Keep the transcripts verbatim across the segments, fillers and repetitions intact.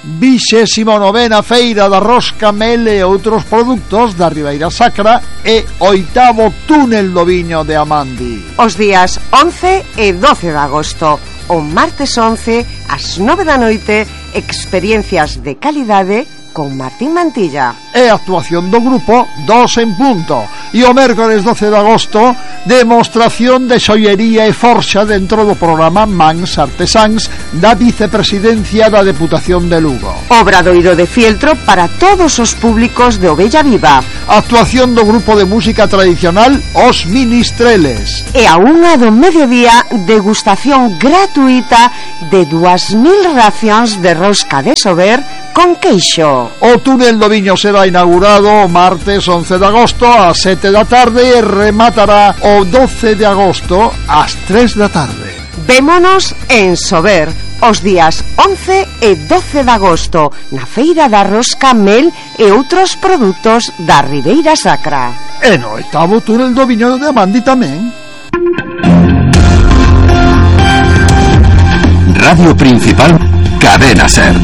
vixésimo novena Feira da Rosca, Mel e outros produtos da Ribeira Sacra e oitavo túnel do viño de Amandi. Os días once e doce de agosto, o martes once ás nove da noite, experiencias de calidade con Martín Mantilla. E actuación do grupo Dos en Punto. E o mércores doce de agosto, demostración de xoiería e forxa dentro do programa Mans Artesáns da Vicepresidencia da Deputación de Lugo. Obradoiro de fieltro para todos os públicos de Ovella Viva. Actuación do grupo de música tradicional Os Ministreles. E a unha do mediodía, degustación gratuita de dúas mil racións de rosca de Sober con queixo. O túnel do viño será inaugurado o martes once de agosto ás sete da tarde e rematará o doce de agosto ás tres da tarde. Vémonos en Sober os días once e doce de agosto na Feira da Rosca, Mel e outros produtos da Ribeira Sacra. E no oitavo túnel do viño de Amandi tamén. Radio Principal, Cadena Ser.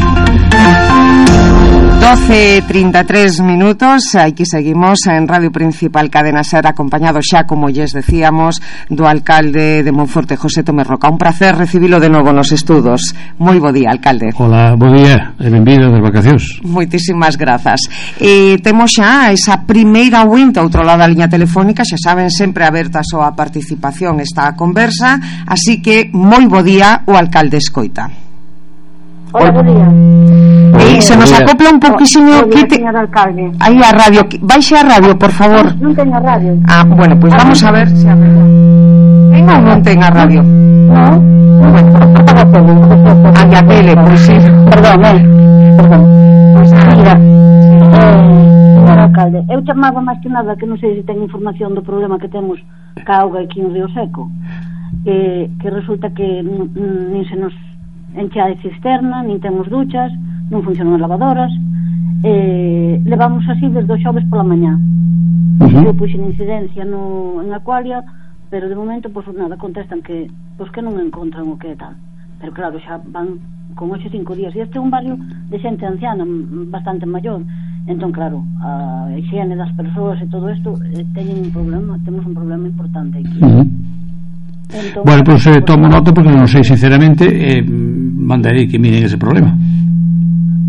doce e trinta e tres minutos, aquí seguimos en Radio Principal Cadena Ser, acompañado xa, como lles decíamos, do alcalde de Monforte, José Tomé Roca. Un placer recibilo de novo nos estudos. Moi bo día, alcalde. Hola, bo día e benvido das vacacións. Moitísimas grazas. E temos xa esa primeira winta outro lado da liña telefónica, xa saben, sempre aberta a súa participación esta conversa, así que moi bo día, o alcalde escoita. Hola, bo día. E se nos acopla un pouquísimo, quite aí a radio, baixe a radio, por favor. Non ten a radio. Ah, bueno, pois pues vamos a ver se a ten ou non ten a radio. Non. A a tele, pois sí. Perdón, eh. Perdón. Mira, señor alcalde, eu chamaba máis que nada que non sei se ten información do problema que temos ca auga aquí no Río Seco. Eh, que resulta que nin se nos enche a cisterna, nin temos duchas, non funcionan as lavadoras, eh, levamos así desde o xoves pola mañá. Uh-huh. Eu puxen incidencia no, en Aqualia, pero de momento, pois pues, nada, contestan que pois pues, que non encontran o que é tal. Pero claro, xa van con ocho cinco días, e este é un barrio de xente anciana bastante maior, entón claro, a higiene das persoas e todo isto eh, teñen un problema, temos un problema importante aquí. Uh-huh. Entón, bueno, pois pues, eh, tomo nota porque non sei sinceramente, eh, mandarei que miren ese problema.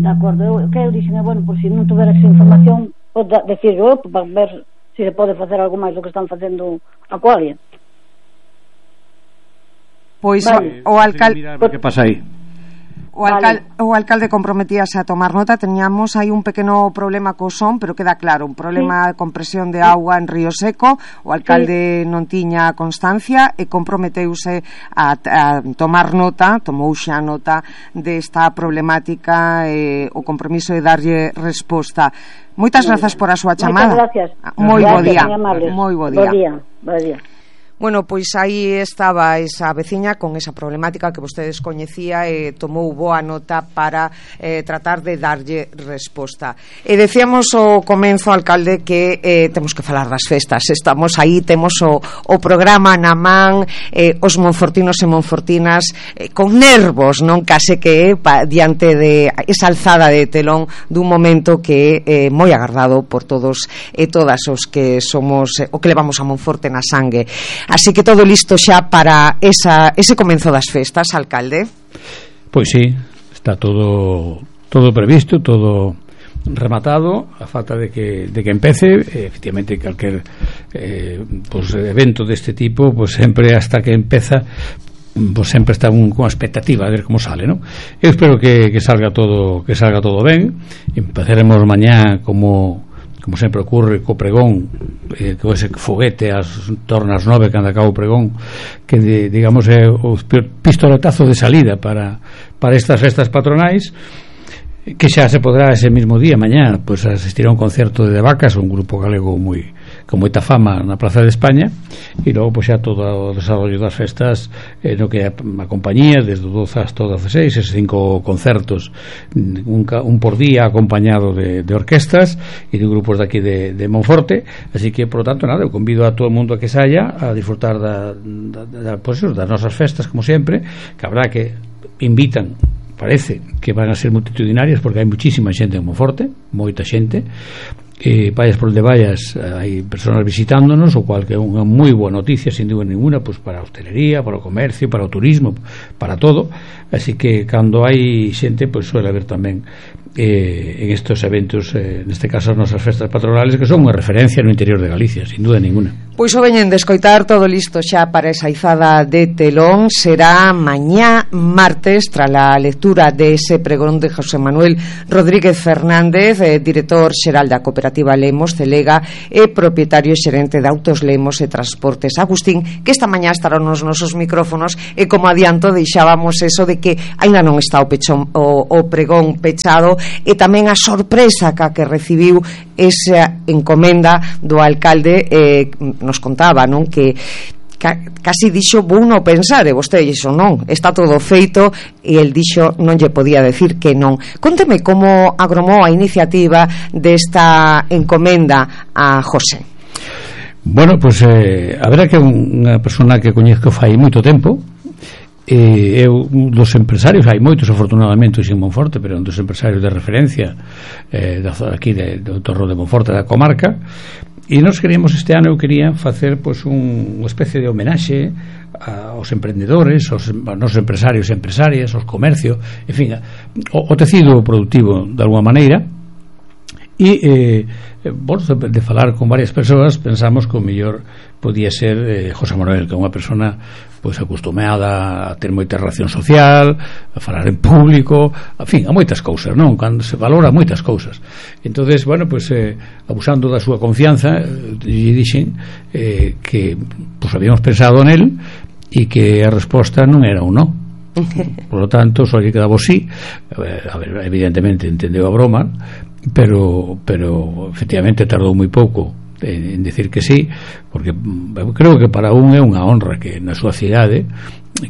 De acordo, eu, que eu dixen, bueno, por si non tuveras información, pode decir eu, para ver se se pode facer algo máis do que están facendo Aqualia. Pois vale. o alcalde, que pasa aí? O, alcal, vale. o alcalde comprometíase a tomar nota. Teníamos aí un pequeno problema co son, pero queda claro, un problema sí. con presión de auga en Río Seco. O alcalde sí. non tiña constancia e comprometeuse a, a tomar nota, tomou xa nota desta problemática e o compromiso de darlle resposta. Moitas grazas por a súa chamada. Moitas gracias. Moi bo día. Moi bo día. Bo día. Bo día. Bueno, pois aí estaba esa veciña con esa problemática que vostedes coñecía e tomou boa nota para eh, tratar de darlle resposta. E decíamos ao comenzo, alcalde, que eh, temos que falar das festas. Estamos aí, temos o, o programa na man, eh, os monfortinos e monfortinas eh, con nervos, non case que eh, pa, diante de esa alzada de telón dun momento que é eh, moi agardado por todos e todas os que somos eh, o que levamos a Monforte na sangue. Así que todo listo xa para esa, ese comenzo das festas, alcalde? Pois sí, está todo todo previsto, todo rematado, a falta de que, de que empece. Efectivamente, calquer eh, pues, evento deste tipo, pues sempre hasta que empeza, pues sempre está un, con expectativa a ver como sale, ¿no? Eu espero que, que salga todo que salga todo ben. Empezaremos mañá como como sempre ocurre co pregón, eh, co ese foguete as tornas nove cando acaba o pregón, que de, digamos é o pistoletazo de salida para, para estas festas patronais, que xa se podrá ese mismo día, mañá, pues asistir a un concerto de Vacas, un grupo galego moi con moita fama na Praza de España, e logo pues, xa todo o desarrollo das festas eh, no que a, a compañía desde o doce hasta o dezaseis, eses cinco concertos, un, un por día acompañado de, de orquestas e de grupos de aquí de, de Monforte. Así que, por lo tanto, nada, eu convido a todo o mundo a que saia a disfrutar da, da, da, pues, das nosas festas, como sempre, que habrá que invitan parece que van a ser multitudinarias porque hai muchísima xente en Monforte, moita xente, eh, vayas por onde vayas hai personas visitándonos, o cual que é unha moi boa noticia sin dúbida ninguna, pues para a hostelería, para o comercio, para o turismo, para todo. Así que cando hai xente, pues suele haber tamén eh, en estos eventos, eh, neste caso as nosas festas patronales, que son unha referencia no interior de Galicia, sin dúbida ninguna. Pois o veñen de escoitar, todo listo xa para esa izada de telón. Será mañá martes, tras a lectura de ese pregón de José Manuel Rodríguez Fernández, eh, director xeral da Cooperativa Lemos Celega e propietario xerente de Autos Lemos e Transportes Agustín, que esta mañá estarán nos nosos micrófonos, e como adianto deixábamos eso de que aínda non está o, pechón, o, o pregón pechado, e tamén a sorpresa que, que recibiu esa encomenda do alcalde. eh, nos contaba, non, que casi dixo, vou non pensar, e vostede dixo non, está todo feito, e el dixo non lle podía decir que non. Conteme como agromou a iniciativa desta encomenda a José. Bueno, pues eh, a verdad que unha persona que coñezco fai moito tempo, e eu dos empresarios, hai moitos afortunadamente en Monforte, pero un dos empresarios de referencia eh, da, aquí de, do Torro de Monforte, da comarca. E nos queríamos este ano, eu quería facer pois, un, unha especie de homenaxe aos emprendedores, aos, aos nosos empresarios e empresarias, aos comercios, en fin, o, o tecido productivo de alguma maneira. E eh, bueno, de, de falar con varias persoas, pensamos que o mellor podía ser eh, José Manuel, que é unha persona pois acostumada a ter moita relación social, a falar en público, en fin, a moitas cousas, non? Cando se valora moitas cousas. Entonces, bueno, pois eh, abusando da súa confianza, eh, lle dixen eh, que pois habíamos pensado nel e que a resposta non era un non. Por lo tanto, só lle quedaba sí. A ver, evidentemente entendeu a broma, pero pero efectivamente tardou moi pouco en decir que sí, porque creo que para un é unha honra que na súa cidade,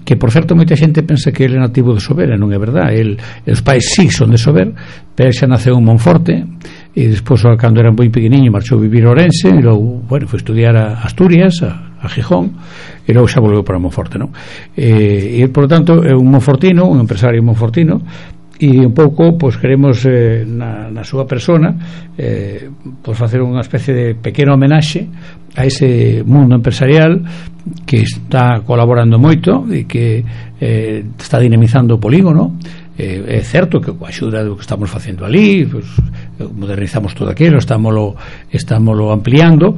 que por certo moita xente pensa que ele é nativo de Sober, e non é verdad. El, os pais sí son de Sober, pero xa naceu en Monforte, e despois cando era moi pequeniño marchou a vivir a Ourense, e logo, bueno, foi estudiar a Asturias, a, a Gijón, e logo xa volveu para Monforte, non? E, e por lo tanto é un monfortino, un empresario monfortino, e un pouco pois queremos eh, na, na súa persona eh, pois facer unha especie de pequeno homenaxe a ese mundo empresarial que está colaborando moito e que eh, está dinamizando o polígono. Eh, é certo que coa axuda do que estamos facendo ali, pues, modernizamos todo aquilo, estámoslo, estámoslo ampliando,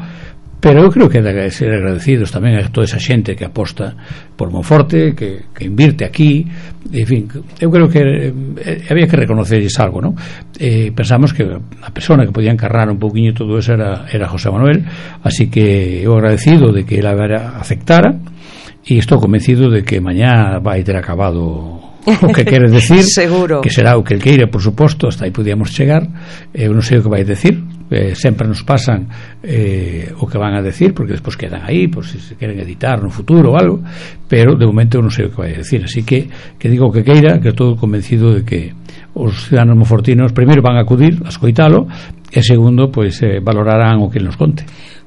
pero eu creo que é de ser agradecidos tamén a toda esa xente que aposta por Monforte, que, que invirte aquí, en fin, eu creo que eh, había que reconocerles algo, non? Eh, pensamos que a persona que podía encarnar un pouquiño todo eso era, era José Manuel, así que eu agradecido de que ele aceptara, e estou convencido de que mañá vai ter acabado o que quere decir. Seguro. Que será o que el queira, por suposto, hasta aí podíamos chegar. Eu non sei o que vai decir, eh, sempre nos pasan eh, o que van a decir, porque despois quedan aí por si se queren editar no futuro ou algo, pero de momento eu non sei o que vai decir, así que que digo o que queira, que estou convencido de que os ciudadanos monfortinos primeiro van a acudir a escoitalo, e segundo, pois eh, valorarán o que nos conte.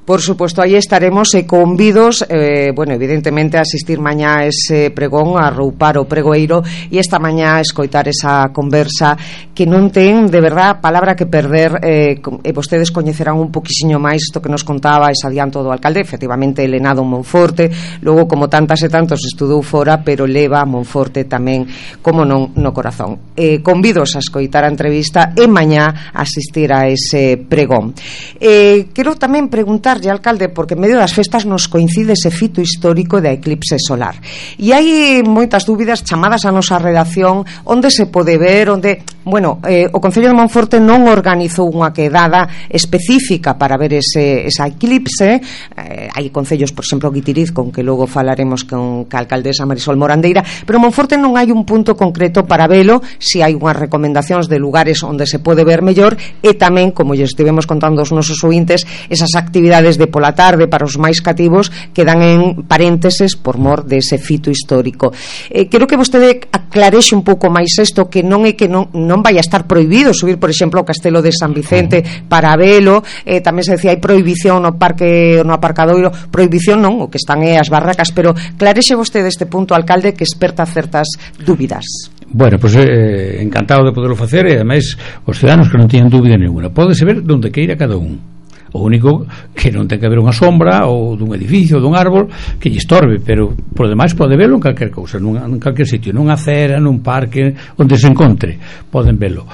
Por supuesto, aí estaremos e convidos, eh, bueno, evidentemente a asistir mañá a ese pregón, a roupar o pregoeiro, e esta mañá a escoitar esa conversa que non ten, de verdad, palabra que perder, eh, e vostedes coñecerán un poquisiño máis isto que nos contaba ese adianto do alcalde. Efectivamente, ele nado en Monforte, logo como tantas e tantos estudou fora, pero leva a Monforte tamén como non no corazón. Eh, convidos a escoitar a entrevista e mañá a asistir a ese pregón. Eh, quero tamén preguntar, alcalde, porque en medio das festas nos coincide ese fito histórico da eclipse solar, e hai moitas dúbidas chamadas a nosa redacción onde se pode ver, onde, bueno, eh, o Concello de Monforte non organizou unha quedada específica para ver ese, esa eclipse. eh, hai concellos, por exemplo, Guitiriz, con que logo falaremos con a alcaldesa Marisol Morandeira, pero Monforte non hai un punto concreto para velo, si hai unhas recomendacións de lugares onde se pode ver mellor, e tamén, como lle estivemos contando aos nosos ointes, esas actividades de pola tarde para os máis cativos quedan en parénteses por mor dese fito histórico. Eh, quero que vostede aclarexe un pouco máis isto, que non é que non, non vai a estar prohibido subir, por exemplo, ao Castelo de San Vicente para velo. Eh, tamén se decía hai prohibición no parque, no aparcadoiro. Prohibición non, o que están é as barracas, pero clarexe vostede este punto, alcalde, que esperta certas dúbidas. Bueno, pois pues, eh, encantado de poderlo facer, e ademais os ciudadanos que non teñan dúbida ninguna, pódese ver donde queira cada un. O único que non ten que haber unha sombra ou dun edificio ou dun árbol que lle estorbe, pero por demais pode verlo en calquer cousa, nun, en calquer sitio, nunha acera, nun parque, onde se encontre, poden verlo.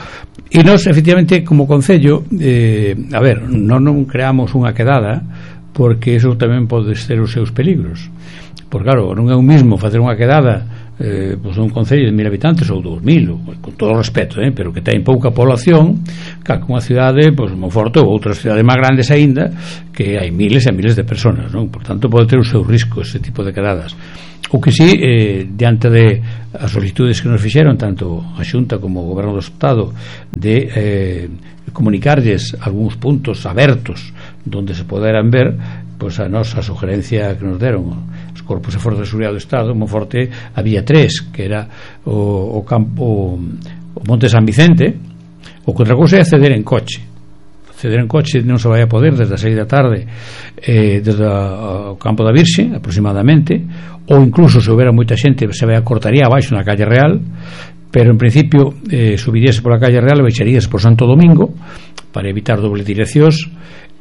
E nós, efectivamente, como Concello, eh, a ver, non, non creamos unha quedada, porque eso tamén pode ser os seus peligros. Porque claro, non é o mismo facer unha quedada eh, pues un concello de mil habitantes ou dous mil, con todo o respeto, eh, pero que ten pouca población, que unha cidade pues, Monforte ou outras cidades máis grandes aínda, que hai miles e miles de personas, non? Por tanto pode ter o seu risco ese tipo de quedadas. O que sí, eh, diante de as solicitudes que nos fixeron tanto a Xunta como o Goberno do Estado de eh, comunicarlles algúns puntos abertos donde se poderan ver, pois a nosa sugerencia que nos deron os corpos de forzas de seguridade do Estado, en Monforte había tres, que era o, o campo o Monte San Vicente. O que outra cousa é acceder en coche. Acceder en coche non se vai a poder desde as seis da tarde eh, desde a, o campo da Virxe aproximadamente, ou incluso se houbera moita xente se vai a cortaría abaixo na calle Real, pero en principio eh, subiríase pola calle Real e baixaríase por Santo Domingo para evitar doble direccións.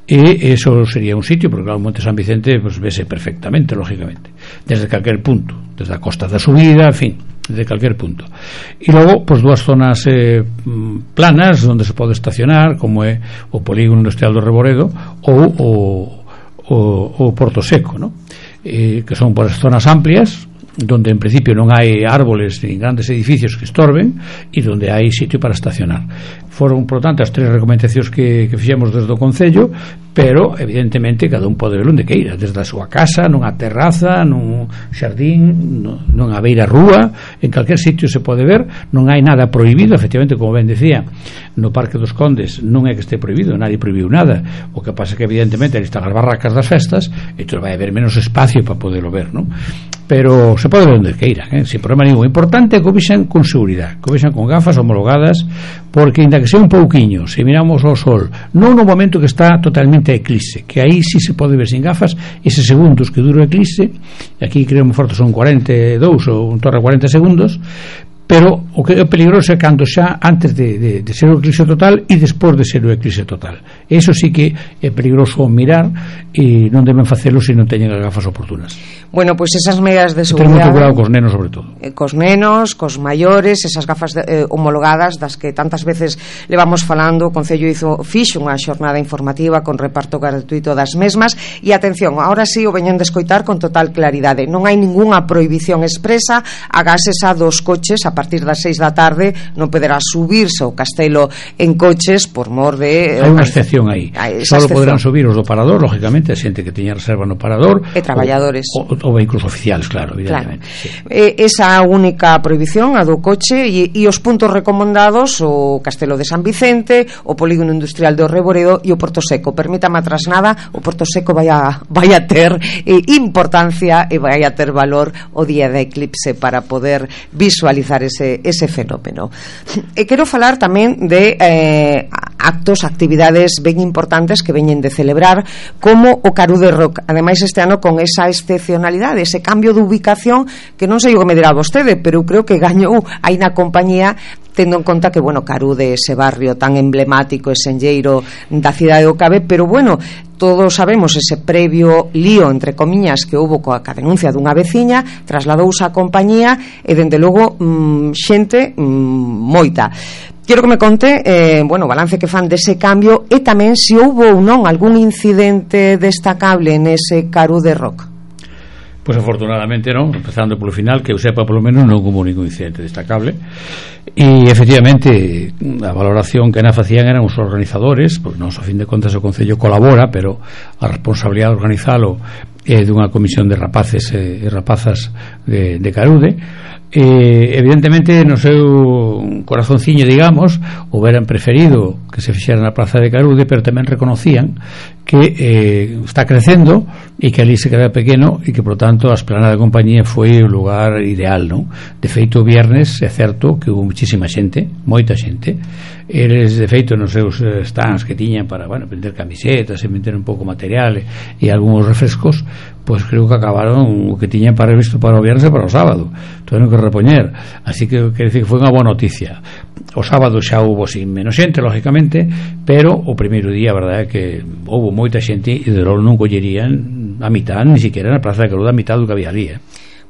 E eso sería un sitio, porque claro, o Monte San Vicente pues, vese perfectamente, lógicamente, desde calquer punto, desde a costa da subida, en fin, desde calquer punto. E logo, pues, dúas zonas eh, planas onde se pode estacionar, como é o polígono industrial do Reboredo ou o, o, o Porto Seco, ¿no? Eh, que son por as zonas amplias, donde en principio non hai árboles ni grandes edificios que estorben e donde hai sitio para estacionar. Foron, por tanto, as tres recomendacións que, que fixemos desde o Concello, pero evidentemente cada un pode ver onde queira, desde a súa casa, nunha terraza, nun xardín, nunha beira rúa, en calquer sitio se pode ver. Non hai nada prohibido, efectivamente, como ben decía, no Parque dos Condes non é que este prohibido, nadie prohibiu nada. O que pasa é que evidentemente ali están as barracas das festas, entón vai haber menos espacio para poderlo ver, non? Pero se pode ver onde queira, eh? Sin problema ningún. O importante é que o vexan con seguridade, que o vexan con gafas homologadas, porque ainda que sea un pouquiño, se miramos ao sol, non no momento que está totalmente a eclipse, que aí sí se pode ver sin gafas, eses segundos que dura o eclipse, aquí creo que forte son cuarenta e dous ou un torre cuarenta segundos, pero o que é peligroso é cando xa antes de, de, de ser o eclipse total e despois de ser o eclipse total. Eso sí que é peligroso mirar e non deben facelo se non teñen as gafas oportunas. Bueno, pois pues esas medidas de seguridade, seguridade, ter moito cuidado cos nenos sobre todo, eh, cos nenos, cos maiores, esas gafas de, eh, homologadas das que tantas veces levamos falando. O Concello hizo fixo unha xornada informativa con reparto gratuito das mesmas. E atención, ahora sí o veñen de escoitar con total claridade, non hai ningunha prohibición expresa a gases a dos coches. A partir das seis da tarde non poderá subirse ao castelo en coches por mor de... Hai unha excepción aí, só poderán subir os do parador, lógicamente, a xente que teña reserva no parador e traballadores ou, ou, ou vehículos oficiales, claro, evidentemente, claro. Sí. Eh, esa única prohibición, a do coche, e, e os puntos recomendados: o Castelo de San Vicente, o Polígono Industrial do Reboredo e o Porto Seco. Permítame tras nada, o Porto Seco vai a, vai a ter eh, importancia e vai a ter valor o día de eclipse para poder visualizar ese, ese fenómeno. E quero falar tamén de eh, actos, actividades ben importantes que veñen de celebrar, como o Carude Rock, ademais este ano con esa excepcionalidade, ese cambio de ubicación que non sei o que me dirá vostede, pero eu creo que gañou aí na compañía, tendo en conta que, bueno, Carude, ese barrio tan emblemático e senlleiro da cidade do Cabe, pero bueno, todos sabemos ese previo lío, entre comiñas, que houbo coa denuncia dunha veciña, trasladouse á compañía e, dende logo, mmm, xente mmm, moita. Quero que me conte, eh, bueno, o balance que fan dese cambio e tamén se houbo ou non algún incidente destacable nese Carude Rock. Pois afortunadamente non, empezando polo final, que eu sepa polo menos non houve ningún incidente destacable. E efectivamente a valoración que na facían eran os organizadores, porque non, a fin de contas o Concello colabora, pero a responsabilidade de organizalo é dunha comisión de rapaces e rapazas de, de Carude. E, evidentemente, no seu corazonciño, digamos, houberan preferido que se fixera na Praza de Carude, pero tamén reconocían que eh, está crecendo e que ali se queda pequeno e que, por tanto, a esplanada de compañía foi o lugar ideal, non? De feito, o viernes é certo que houve muchísima xente, moita xente, eles de feito nos seus stands que tiñan para, bueno, vender camisetas e vender un pouco material e, e algúns refrescos, pois creo que acabaron o que tiñan para visto para o viernes e para o sábado, tuveron que repoñer, así que quer dizer que foi unha boa noticia. O sábado xa houbo sin menos xente, lógicamente, pero o primeiro día a verdade é que houbo moita xente e de logo non collerían a mitad, ni siquiera na Praza de Caruda a mitad do que había ali, eh?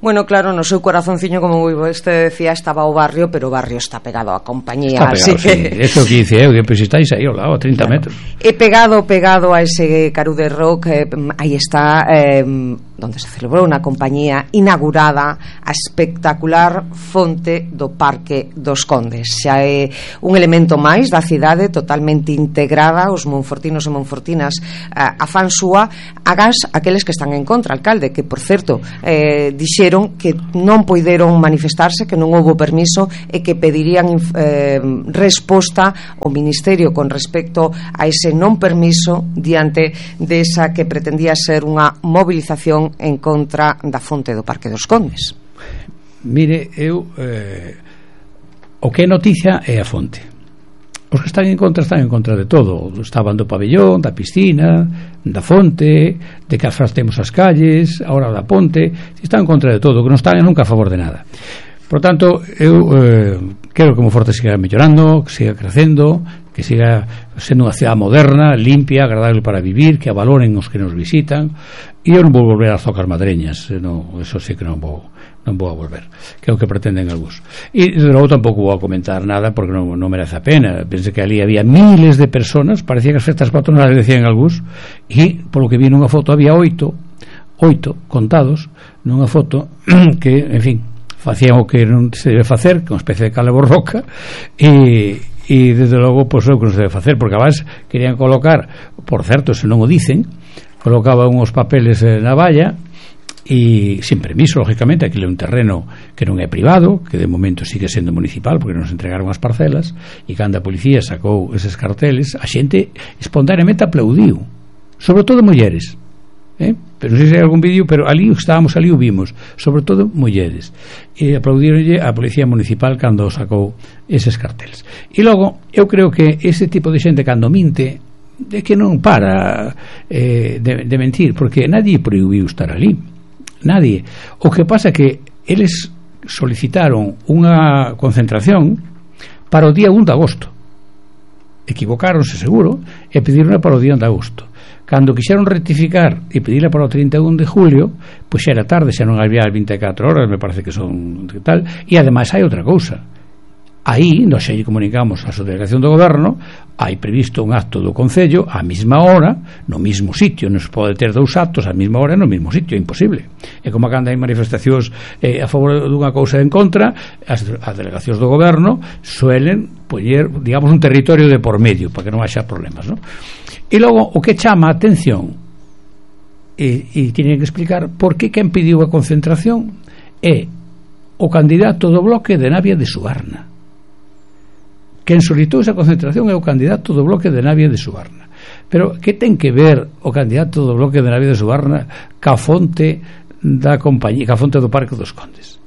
Bueno, claro, no seu corazonciño, como este decía, estaba o barrio, pero o barrio está pegado á compañía, está pegado, así que... Sí. Eso que dice, eh, que pues, estáis aí ao lado, a trinta claro. metros. E pegado, pegado a ese Carude Rock, eh, aí está... Eh, donde se celebrou unha compañía inaugurada a espectacular fonte do Parque dos Condes. Xa é un elemento máis da cidade totalmente integrada, os monfortinos e monfortinas a, a fan súa, agás aqueles que están en contra, alcalde, que por certo eh, dixeron que non poideron manifestarse, que non houbo permiso e que pedirían eh, resposta ao Ministerio con respecto a ese non permiso diante desa que pretendía ser unha movilización en contra da fonte do Parque dos Condes. Mire, eu eh, o que é noticia é a fonte. Os que están en contra están en contra de todo. Estaban do pabellón, da piscina, da fonte, de que afrastemos as calles, ahora da ponte, están en contra de todo, que non están nunca a favor de nada. Por tanto, eu eh, quero que Monforte siga mellorando, que siga crecendo, que siga sendo unha cidade moderna, limpia, agradable para vivir, que a valoren os que nos visitan. E eu non vou volver ás zocas madreñas, non, eso sí que non vou non vou a volver, que é o que pretenden algúns. E de logo tampouco vou a comentar nada porque non, non merece a pena. Pense que ali había miles de personas, parecía que as festas patronales decían algúns, e polo que vi nunha foto había oito oito contados nunha foto que, en fin, facían o que non se debe facer, que é unha especie de cale borroca, e, e desde logo pois, o que non se debe facer, porque además querían colocar, por certo, se non o dicen, colocaban uns papeles na valla e sin permiso, lógicamente. Aquilo é un terreno que non é privado, que de momento sigue sendo municipal porque nos entregaron as parcelas, e cando a policía sacou eses carteles, a xente espontaneamente aplaudiu, sobre todo mulleres, eh? Pero non sei se hai algún vídeo, pero ali estábamos, ali o vimos, sobre todo mulleres, e aplaudironlle a policía municipal cando sacou eses carteles. E logo, eu creo que ese tipo de xente cando minte é que non para eh, de, de mentir, porque nadie prohibiu estar ali, nadie. O que pasa é que eles solicitaron unha concentración para o día un de agosto, equivocáronse seguro e pediron para o día un de agosto. Cando quixeron rectificar e pedirla para o trinta e un de julio, pois xa era tarde, xa non había vinte e catro horas, me parece que son tal. E ademais hai outra cousa. Aí, nos xe comunicamos a subdelegación do goberno, hai previsto un acto do Concello á mesma hora, no mesmo sitio. Non se pode ter dous actos á mesma hora no mesmo sitio, é imposible. É como cando hai manifestacións eh, a favor dunha cousa en contra, as, as delegacións do goberno suelen poñer, digamos, un territorio de por medio para que non haxa problemas, ¿no? E logo, o que chama a atención e, e tienen que explicar por que quen pediu a concentración é o candidato do bloque de Navia de Subarna. Quen solicitou esa concentración é o candidato do bloque de Navia de Subarna. Pero que ten que ver o candidato do bloque de Navia de Subarna ca fonte da compañía, ca fonte do Parque dos Condes?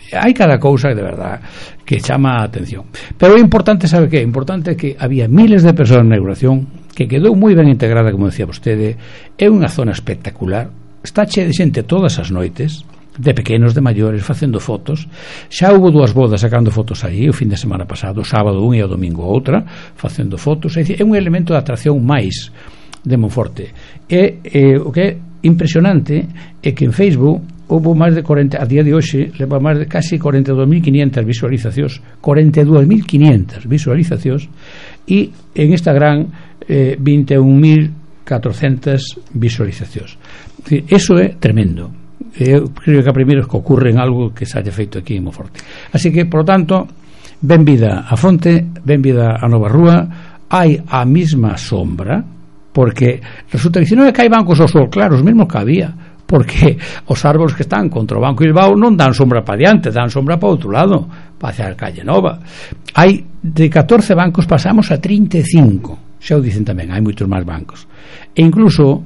Hai cada cousa de verdad que chama a atención. Pero é importante, sabe que é importante que había miles de persoas na inauguración, que quedou moi ben integrada, como decía vostede. É unha zona espectacular, está chea de xente todas as noites, de pequenos, de maiores, facendo fotos. Xa houve dúas bodas sacando fotos aí o fin de semana pasado, o sábado un e o domingo outra, facendo fotos. É dicir, é un elemento de atracción máis de Monforte. E eh, o que é impresionante é que en Facebook houve máis de cuarenta, a día de hoxe leva máis de casi cuarenta e dous mil quinientas visualizacións, cuarenta e dous mil quinientas visualizacións, e en Instagram eh, vinte e un mil catrocentas visualizacións. Eso é tremendo. Eu creo que a primeiro que ocurre en algo que se haya feito aquí en Monforte. Así que, por lo tanto, ben vida a fonte, ben vida a Nova Rúa. Hai a mesma sombra, porque resulta que se non é que hai bancos ao sol, claro, os mesmos que había, porque os árboles que están contra o Banco Bilbao non dan sombra para diante, dan sombra para outro lado, para hacia a Calle Nova. Hai de catorce bancos pasamos a trinta e cinco, xa o dicen tamén, hai moitos máis bancos. E incluso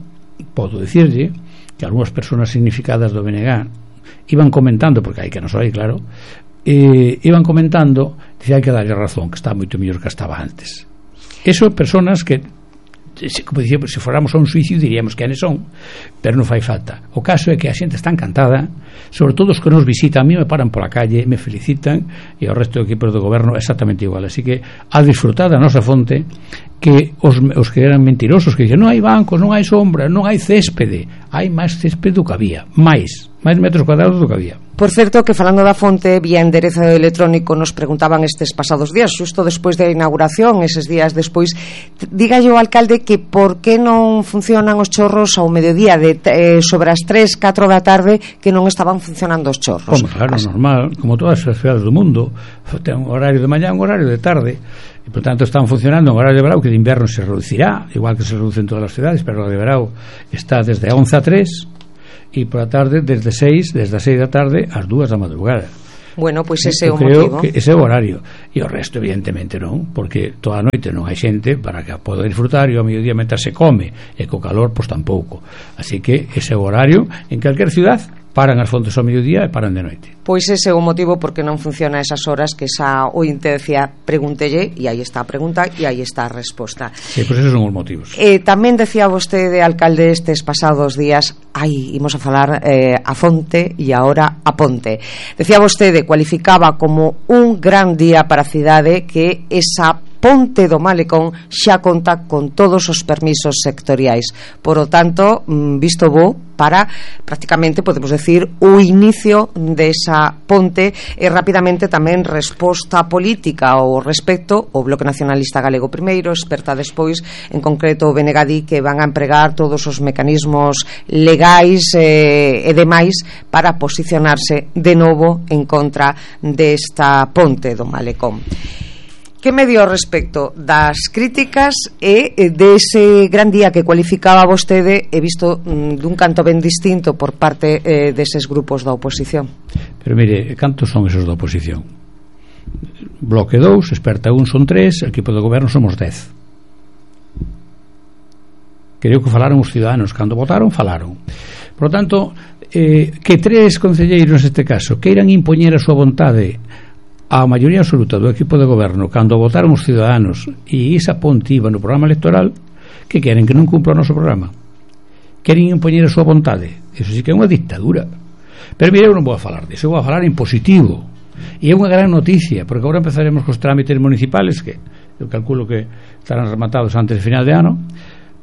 podo dicirlle que algunhas persoas significadas do B N G iban comentando, porque hai que non soy, claro, eh, iban comentando dice, hai que darlle razón, que está moito mellor que estaba antes. Eso, personas que, como dicía, se fóramos a un suicio diríamos que anes son, pero non fai falta. O caso é que a xente está encantada, sobre todo os que nos visitan, a mí me paran pola calle, me felicitan, e ao resto do equipo do goberno exactamente igual. Así que a disfrutar da nosa fonte, que os, os que eran mentirosos, que dicen non hai bancos, non hai sombra, non hai céspede, hai máis céspede do que había, máis máis metros cuadrados do que había. Por certo, que falando da fonte, vía enderezo electrónico, nos preguntaban estes pasados días, xusto despois da inauguración, eses días despois, dígalle o alcalde que por que non funcionan os chorros ao mediodía, de, eh, sobre as tres, catro da tarde, que non estaban funcionando os chorros. Como, claro, As... normal, como todas as cidades do mundo, ten un horario de mañá, un horario de tarde, e por tanto están funcionando en horario de verão, que de inverno se reducirá, igual que se reduce en todas as cidades, pero o de verão está desde a once a tres, e por a tarde desde seis, desde as seis da tarde ás dúas da madrugada. Bueno, pois pues ese é o creo motivo. Que ese é o horario, e o resto evidentemente non, porque toda a noite non hai xente para que poda disfrutar, e ao mediodía mentre se come, e co calor pois tampouco. Así que ese é o horario en calquer ciudad. Paran as fontes ao mediodía e paran de noite. Pois ese é o motivo porque non funciona esas horas que esa ointe decía, pregúntelle, e aí está a pregunta e aí está a resposta. Sí, pois esos son os motivos. Eh, tamén decía vostede, alcalde, estes pasados días, ai, imos a falar eh, a fonte e agora a ponte. Decía vostede, cualificaba como un gran día para a cidade que esa ponte do Malecón xa conta con todos os permisos sectoriais. Por o tanto, visto bo para prácticamente, podemos decir, o inicio desa ponte e rapidamente tamén resposta política ao respecto. O Bloque Nacionalista Galego primeiro, experta despois, en concreto o B N G di que van a empregar todos os mecanismos legais eh, e demais para posicionarse de novo en contra desta ponte do Malecón. Que me dio respecto das críticas e dese gran día que cualificaba vostede, he visto mm, dun canto ben distinto por parte eh, deses grupos da oposición? Pero mire, cantos son esos da oposición? Bloque dous, experta un son tres, equipo de goberno somos dez. Creo que falaron os ciudadanos, cando votaron, falaron. Por lo tanto, eh, que tres concelleiros neste caso queiran impoñer a súa vontade a maioría absoluta do equipo de goberno cando votaron os ciudadanos e esa ponte iba no programa electoral, que queren que non cumpla o noso programa, queren impoñer a súa vontade. Eso sí que é unha dictadura. Pero mire, eu non vou a falar disso, eu vou a falar en positivo, e é unha gran noticia, porque agora empezaremos cos trámites municipales, que eu calculo que estarán rematados antes de final de ano,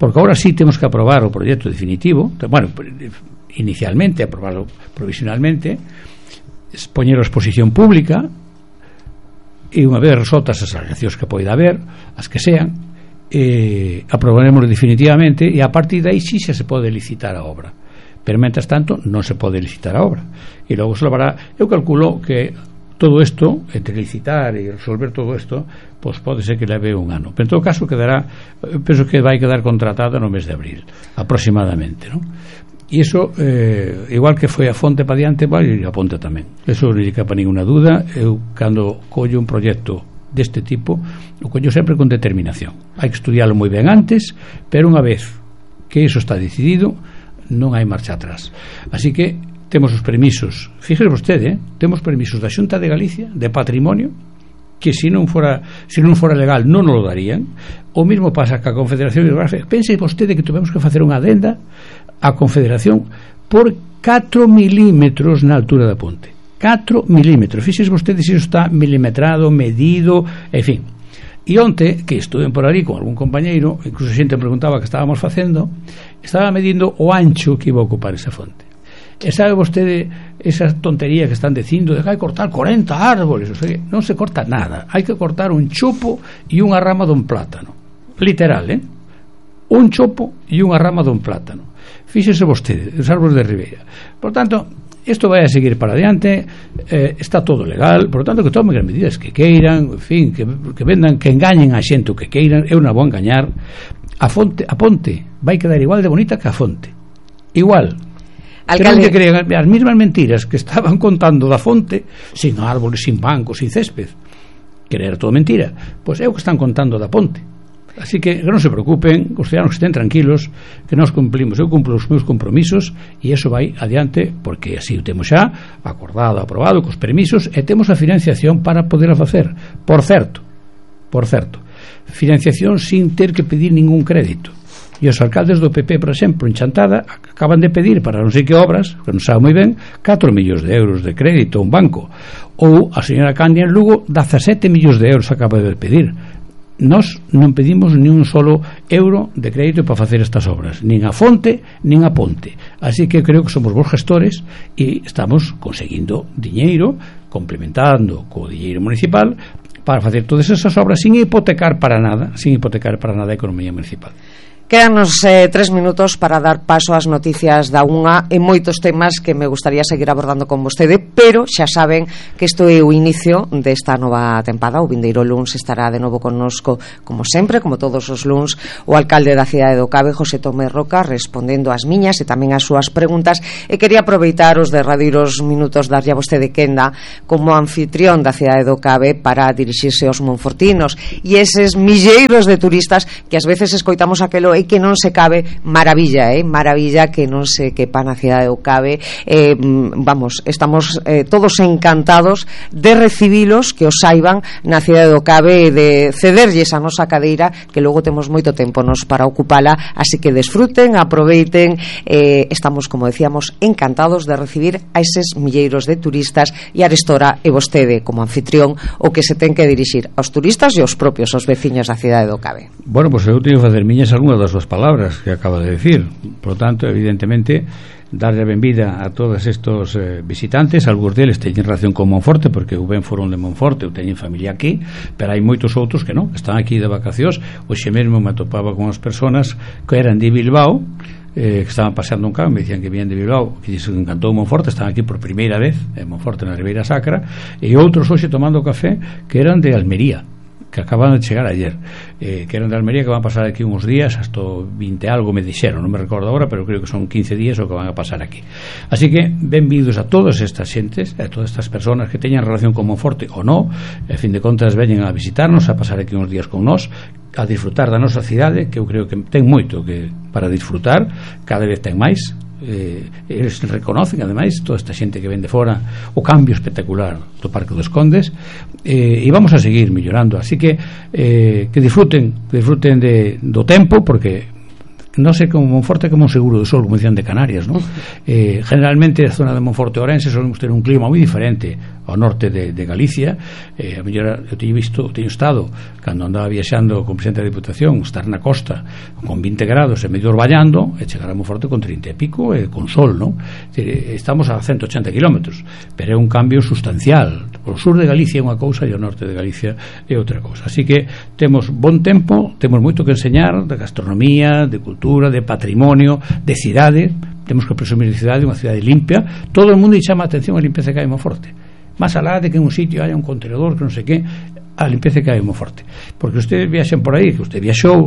porque agora sí temos que aprobar o proxecto definitivo, bueno, inicialmente aprobarlo provisionalmente, poñer a exposición pública, e unha vez resoltas as alegacións que poida haber, as que sean, eh, aprobaremos definitivamente, e a partir de aí sí xa se pode licitar a obra, pero mentras tanto non se pode licitar a obra, e logo se levará. Eu calculo que todo isto, entre licitar e resolver todo isto, pois pode ser que leve un ano, pero en todo caso quedará, penso que vai quedar contratada no mes de abril aproximadamente, non? E iso, eh, igual que foi a fonte para diante, vai a ponte tamén. Eso non lle capa ninguna duda. Eu, cando collo un proxecto deste tipo, o collo sempre con determinación. Hai que estudiarlo moi ben antes, pero unha vez que iso está decidido, non hai marcha atrás. Así que temos os permisos, fíjese vostede, eh? temos permisos da Xunta de Galicia de patrimonio, que se non fora se non fora legal non nos lo darían. O mesmo pasa ca Confederación Hidrográfica. Pense vostede que tuvemos que facer unha adenda a Confederación por catro milímetros na altura da ponte, catro milímetros. Fíxese vostede se iso está milimetrado, medido, en fin. E onte, que estuve por ali con algún compañeiro, incluso xente me preguntaba que estábamos facendo, estaba medindo o ancho que iba a ocupar esa fonte. E sabe vostede esa tontería que están dicindo de que hai que cortar corenta árboles, o sea, non se corta nada, hai que cortar un chopo e unha rama dun plátano, literal, eh? Un chopo e unha rama dun plátano. Fíxese vostede, os árboles de ribeira. Por tanto, isto vai a seguir para adiante, eh, está todo legal, por tanto que tomen as medidas que queiran, en fin, que, que vendan, que engañen a xente o que queiran, eu non vou engañar. A fonte, a ponte vai quedar igual de bonita que a fonte, igual. Alcalde, que crean as mesmas mentiras que estaban contando da fonte, sin árboles, sin bancos, sin césped, que era todo mentira, pois é o que están contando da ponte. Así que non se preocupen, os ciudadanos que estén tranquilos, que nós cumplimos, eu cumplo os meus compromisos e iso vai adiante, porque así o temos xa acordado, aprobado, cos permisos, e temos a financiación para poder facer. Por certo, por certo, financiación sin ter que pedir ningún crédito. E os alcaldes do P P, por exemplo, en Chantada, acaban de pedir para non sei que obras, que non sabe moi ben, catro millóns de euros de crédito a un banco. Ou a señora Candia en Lugo, dezasete millóns de euros acaba de pedir. Nós non pedimos ni un solo euro de crédito para facer estas obras, nin a fonte, nin a ponte. Así que creo que somos bons gestores e estamos conseguindo diñeiro, complementando co diñeiro municipal, para facer todas esas obras sin hipotecar para nada, sin hipotecar para nada a economía municipal. Quédanos eh, tres minutos para dar paso ás noticias da unha e moitos temas que me gustaría seguir abordando con vostede, pero xa saben que isto é o inicio desta nova tempada. O vindeiro luns estará de novo connosco, como sempre, como todos os luns, o alcalde da cidade do Cabe, José Tomé Roca, respondendo ás miñas e tamén ás súas preguntas, e quería aproveitar os derradeiros minutos darlle a vostede quenda como anfitrión da cidade do Cabe para dirixirse aos monfortinos e eses milleiros de turistas que ás veces escoitamos aquelo e que non se cabe, maravilla, eh? maravilla que non se quepa na cidade do Cabe. Eh, vamos, estamos eh, todos encantados de recibilos, que os saiban na cidade do Cabe, e de cederlles a nosa cadeira, que logo temos moito tempo nos para ocupala, así que desfruten, aproveiten. Eh, estamos, como decíamos, encantados de recibir a eses milleiros de turistas, e arestora e vostede como anfitrión o que se ten que dirixir aos turistas e aos propios, aos veciños da cidade do Cabe. Bueno, pois pues eu teño que facer miñas algunhas das súas palabras que acaba de decir. Por lo tanto, evidentemente, darle a benvida a todos estos eh, visitantes. Algúns deles teñen relación con Monforte, porque eu ben foron de Monforte, eu teñen familia aquí, pero hai moitos outros que non, que están aquí de vacacións. Hoxe mesmo me atopaba con as persoas que eran de Bilbao, eh, que estaban paseando un carro, me dicían que vienen de Bilbao, que lles encantou Monforte, están aquí por primeira vez en Monforte, na Ribeira Sacra, e outros hoxe tomando café que eran de Almería, que acaban de chegar ayer, eh, que eran de Almería, que van a pasar aquí uns días, hasta vinte algo me dixeron, non me recordo agora, pero creo que son quince días o que van a pasar aquí. Así que benvidos a todas estas xentes, a todas estas personas que teñan relación con Monforte ou non, a fin de contas veñen a visitarnos, a pasar aquí uns días con nós, a disfrutar da nosa cidade, que eu creo que ten moito que para disfrutar, cada vez ten máis. Eh, eles reconocen ademais toda esta xente que ven de fora o cambio espectacular do Parque dos Condes, eh, e vamos a seguir mellorando, así que eh, que disfruten que disfruten de, do tempo, porque non sei como Monforte como un seguro do sol, como dicían de Canarias, ¿no? Eh, generalmente a zona de Monforte e Ourense solemos ter un clima moi diferente ao norte de, de Galicia. Eh, a mellor eu teño visto, teño estado cando andaba viaxando con o presidente da Diputación, estar na costa con vinte grados e medio orballando, e chegar a Monforte con trinta e pico e con sol, ¿no? Estamos a ciento ochenta kilómetros, pero é un cambio sustancial. O sur de Galicia é unha cousa e o norte de Galicia é outra cousa, así que temos bon tempo, temos moito que enseñar de gastronomía, de cultura, de patrimonio, de cidade. Temos que presumir de cidade, unha cidade limpia. Todo o mundo chama a atención a limpeza que hai en Monforte, máis alá de que en un sitio haya un contenedor que non sei que, a limpeza que hai en Monforte, porque ustedes viaxen por aí, que usted viaxou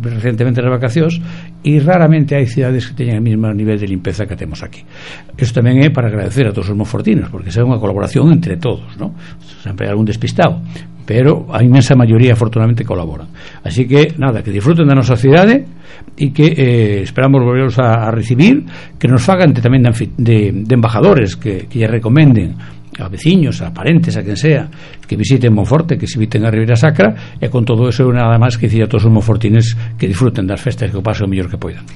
recientemente nas vacacións, e raramente hai cidades que teñen o mesmo nivel de limpeza que temos aquí. Isto tamén é para agradecer a todos os monfortinos, porque é unha colaboración entre todos, ¿no? Sempre hai algún despistado, pero a inmensa maioría afortunadamente colaboran. Así que nada, que disfruten da nosa cidade e que eh, esperamos volveros a, a recibir, que nos fagan de, tamén de, de, de embajadores que, que lle recomenden a veciños, a parentes, a quen sea, que visiten Monforte, que se visiten a Ribeira Sacra, e con todo eso nada máis que dicir a todos os monfortines que disfruten das festas, que o pasen o mellor que poidan.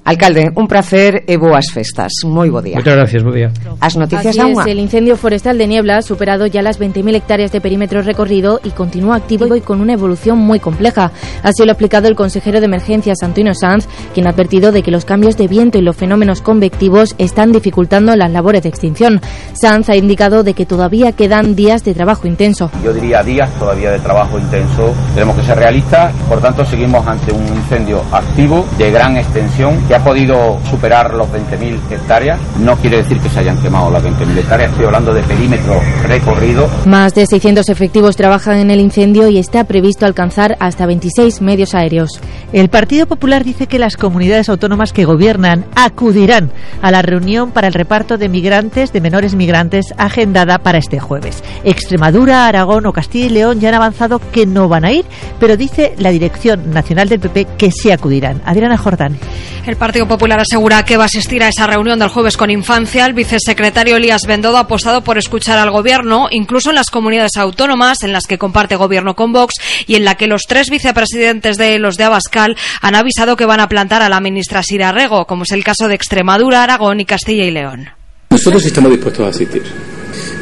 Alcalde, un placer e boas festas. Moi bo día. Moitas gracias, bo día. As noticias da unha. El incendio forestal de Niebla ha superado ya las veinte mil hectáreas de perímetro recorrido y continúa activo y con una evolución muy compleja. Así lo ha explicado el consejero de Emergencias, Antonio Sanz, quien ha advertido de que los cambios de viento y los fenómenos convectivos están dificultando las labores de extinción. Sanz ha indicado de que todavía quedan días de trabajo intenso. Yo diría días todavía de trabajo intenso. Tenemos que ser realistas, por tanto seguimos ante un incendio activo de gran extensión que Se ha podido superar los veinte mil hectáreas. No quiere decir que se hayan quemado las veinte mil hectáreas, estoy hablando de perímetro recorrido. Más de seiscientos efectivos trabajan en el incendio y está previsto alcanzar hasta veintiséis medios aéreos. El Partido Popular dice que las comunidades autónomas que gobiernan acudirán a la reunión para el reparto de migrantes, de menores migrantes, agendada para este jueves. Extremadura, Aragón o Castilla y León ya han avanzado que no van a ir, pero dice la Dirección Nacional del P P que sí acudirán. Adriana Jordán. El Partido Popular asegura que va a asistir a esa reunión del jueves con Infancia. El vicesecretario Elías Bendodo ha apostado por escuchar al Gobierno, incluso en las comunidades autónomas en las que comparte Gobierno con Vox y en la que los tres vicepresidentes de los de Abascal han avisado que van a plantar a la ministra Sira Rego, como es el caso de Extremadura, Aragón y Castilla y León. Nosotros estamos dispuestos a asistir,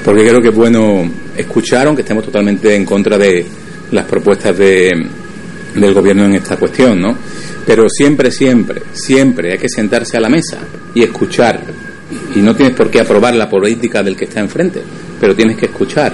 porque creo que es bueno escuchar, aunque estemos totalmente en contra de las propuestas de, del Gobierno en esta cuestión, ¿no? Pero siempre, siempre, siempre hay que sentarse a la mesa y escuchar. Y no tienes por qué aprobar la política del que está enfrente, pero tienes que escuchar.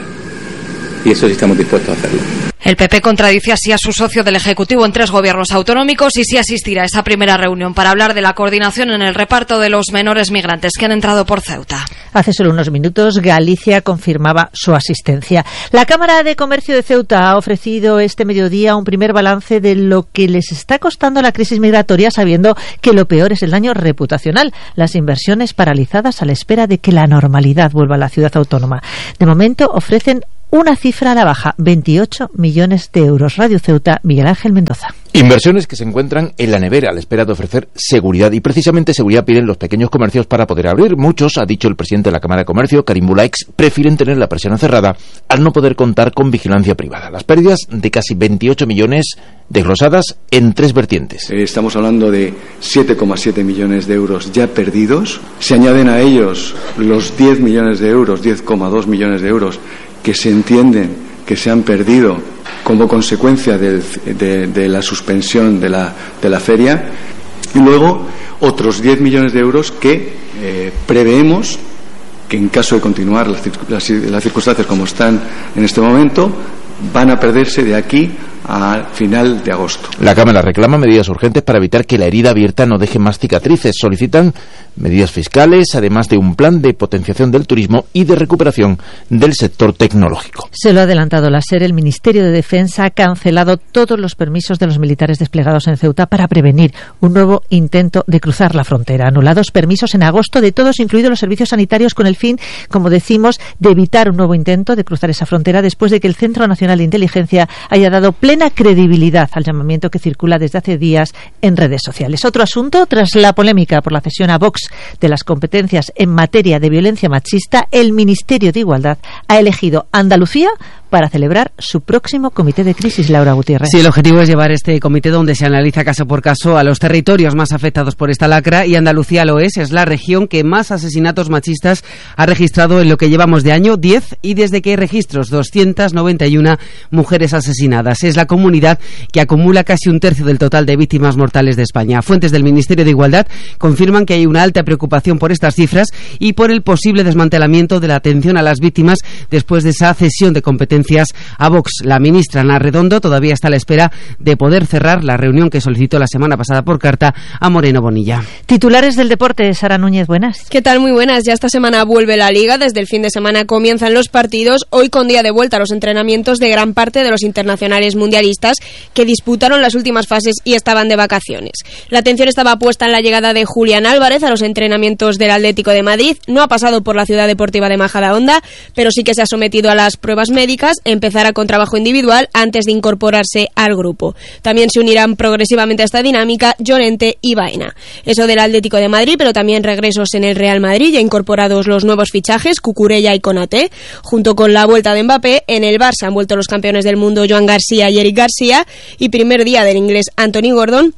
Y eso sí estamos dispuestos a hacerlo. El P P contradice así a su socio del Ejecutivo en tres gobiernos autonómicos y sí asistirá a esa primera reunión para hablar de la coordinación en el reparto de los menores migrantes que han entrado por Ceuta. Hace solo unos minutos Galicia confirmaba su asistencia. La Cámara de Comercio de Ceuta ha ofrecido este mediodía un primer balance de lo que les está costando la crisis migratoria, sabiendo que lo peor es el daño reputacional, las inversiones paralizadas a la espera de que la normalidad vuelva a la ciudad autónoma. De momento ofrecen una cifra a la baja, veintiocho millones de euros. Radio Ceuta, Miguel Ángel Mendoza. Inversiones que se encuentran en la nevera a la espera de ofrecer seguridad, y precisamente seguridad piden los pequeños comercios para poder abrir. Muchos, ha dicho el presidente de la Cámara de Comercio, Karim Bulaix, prefieren tener la persiana cerrada al no poder contar con vigilancia privada. Las pérdidas de casi veintiocho millones desglosadas en tres vertientes. Eh, estamos hablando de siete coma siete millones de euros ya perdidos. Se añaden a ellos los diez millones de euros, diez coma dos millones de euros que se entienden que se han perdido como consecuencia del, de, de la suspensión de la, de la feria, y luego otros diez millones de euros que eh, preveemos que, en caso de continuar las, las, las circunstancias como están en este momento, van a perderse de aquí a final de agosto. La Cámara reclama medidas urgentes para evitar que la herida abierta no deje más cicatrices. Solicitan medidas fiscales, además de un plan de potenciación del turismo y de recuperación del sector tecnológico. Se lo ha adelantado la SER. El Ministerio de Defensa ha cancelado todos los permisos de los militares desplegados en Ceuta para prevenir un nuevo intento de cruzar la frontera. Anulados permisos en agosto de todos, incluidos los servicios sanitarios, con el fin, como decimos, de evitar un nuevo intento de cruzar esa frontera después de que el Centro Nacional de Inteligencia haya dado plena credibilidad al llamamiento que circula desde hace días en redes sociales. Otro asunto, tras la polémica por la cesión a Vox de las competencias en materia de violencia machista, el Ministerio de Igualdad ha elegido Andalucía para celebrar su próximo comité de crisis. Laura Gutiérrez. Sí, el objetivo es llevar este comité donde se analiza caso por caso a los territorios más afectados por esta lacra, y Andalucía lo es, es la región que más asesinatos machistas ha registrado en lo que llevamos de año, diez, y desde que hay registros, doscientas noventa y una mujeres asesinadas. Es la comunidad que acumula casi un tercio del total de víctimas mortales de España. Fuentes del Ministerio de Igualdad confirman que hay una alta preocupación por estas cifras y por el posible desmantelamiento de la atención a las víctimas después de esa cesión de competencias a Vox. La ministra Ana Redondo todavía está a la espera de poder cerrar la reunión que solicitó la semana pasada por carta a Moreno Bonilla. Titulares del deporte, Sara Núñez, buenas. ¿Qué tal? Muy buenas. Ya esta semana vuelve la Liga. Desde el fin de semana comienzan los partidos. Hoy, con día de vuelta a los entrenamientos de gran parte de los internacionales mundialistas que disputaron las últimas fases y estaban de vacaciones. La atención estaba puesta en la llegada de Julián Álvarez a los entrenamientos del Atlético de Madrid. No ha pasado por la Ciudad Deportiva de Majadahonda, pero sí que se ha sometido a las pruebas médicas. Empezará con trabajo individual antes de incorporarse al grupo. También se unirán progresivamente a esta dinámica Llorente y Baena. Eso del Atlético de Madrid, pero también regresos en el Real Madrid, ya incorporados los nuevos fichajes, Cucurella y Konaté. Junto con la vuelta de Mbappé, en el Barça han vuelto los campeones del mundo Joan García y Eric García, y primer día del inglés Anthony Gordon.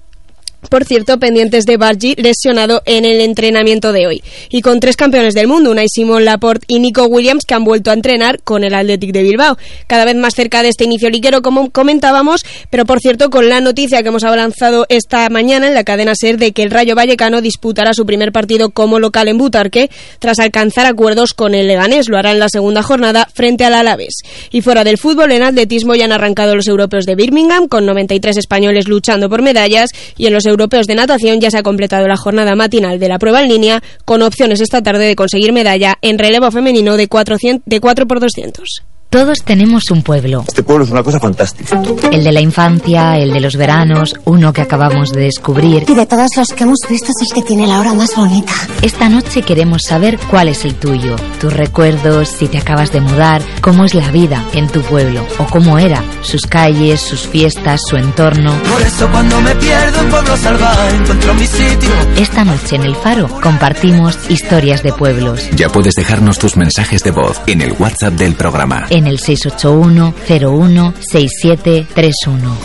Por cierto, pendientes de Bargi, lesionado en el entrenamiento de hoy. Y con tres campeones del mundo, Unai Simón, Laporte y Nico Williams, que han vuelto a entrenar con el Athletic de Bilbao. Cada vez más cerca de este inicio liguero, como comentábamos, pero por cierto, con la noticia que hemos avanzado esta mañana en la cadena SER de que el Rayo Vallecano disputará su primer partido como local en Butarque, tras alcanzar acuerdos con el Leganés. Lo hará en la segunda jornada frente al Alavés. Y fuera del fútbol, en atletismo ya han arrancado los europeos de Birmingham, con noventa y tres españoles luchando por medallas, y en los Europeos de Natación ya se ha completado la jornada matinal de la prueba en línea, con opciones esta tarde de conseguir medalla en relevo femenino de cuatro por doscientos. Todos tenemos un pueblo. Este pueblo es una cosa fantástica. El de la infancia, el de los veranos, uno que acabamos de descubrir. Y de todos los que hemos visto es el que tiene la hora más bonita. Esta noche queremos saber cuál es el tuyo, tus recuerdos, si te acabas de mudar, cómo es la vida en tu pueblo o cómo era, sus calles, sus fiestas, su entorno. Por eso cuando me pierdo en Pueblo Salvaje encuentro mi sitio. Esta noche en El Faro compartimos historias de pueblos. Ya puedes dejarnos tus mensajes de voz en el WhatsApp del programa. En el seis ocho uno cero uno seis siete tres uno.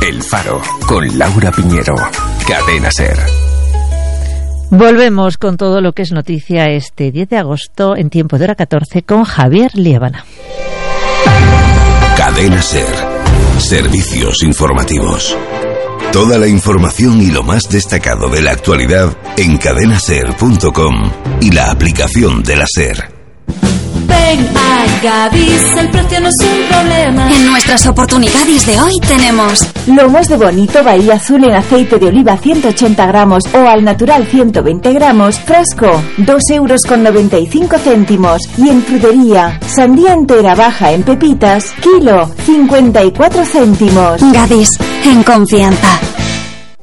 El Faro, con Laura Piñero. Cadena SER. Volvemos con todo lo que es noticia este diez de agosto en tiempo de hora catorce con Javier Liébana. Cadena SER. Servicios informativos. Toda la información y lo más destacado de la actualidad en cadena ser punto com y la aplicación de la SER. Ven a Gadis, el precio no es un problema. En nuestras oportunidades de hoy tenemos lomos de bonito Bahía Azul en aceite de oliva ciento ochenta gramos o al natural ciento veinte gramos, frasco, dos euros con noventa y cinco céntimos. Y en frutería, sandía entera baja en pepitas, kilo, cincuenta y cuatro céntimos. Gadis, en confianza.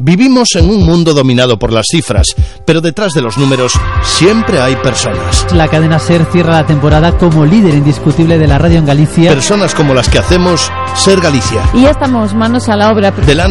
Vivimos en un mundo dominado por las cifras, pero detrás de los números siempre hay personas. La cadena SER cierra la temporada como líder indiscutible de la radio en Galicia. Personas como las que hacemos SER Galicia. Y ya estamos manos a la obra. Delante